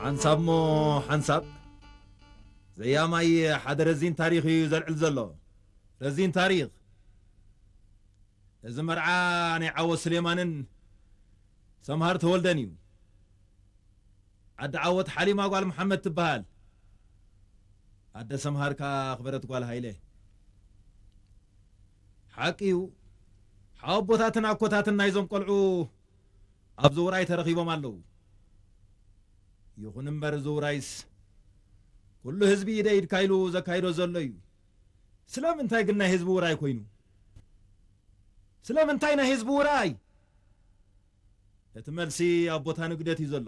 ሓንሳብ እሞ ሓንሳብ ዘያማይ ሓደ ረዚን ታሪኽ እዩ ዘልዕል ዘሎ። ረዚን ታሪኽ። እዚ መርዓ ናይ ዓወት ስሌማንን ሰምሃር ተወልደን እዩ። ዓዲ ዓወት ሓሊማ ጓል መሓመድ ትበሃል። ኣደ ሰምሃር ከኣ ኣኽበረት ጓል ሃይለ። ሓቂ እዩ፣ ሓወቦታትን ኣኮታትን ናይዞም ቆልዑ ኣብዚ ውራይ ተረኺቦም ኣለዉ። ይኹን እምበር እዚ ውራይስ ኩሉ ህዝቢ ኢደ ኢድካ ኢሉ ዘካይዶ ዘሎ እዩ። ስለምንታይ ግን ናይ ህዝቢ ውራይ ኮይኑ? ስለምንታይ ናይ ህዝቢ ውራይ? እቲ መልሲ ኣብ ቦታ ንግደት እዩ ዘሎ።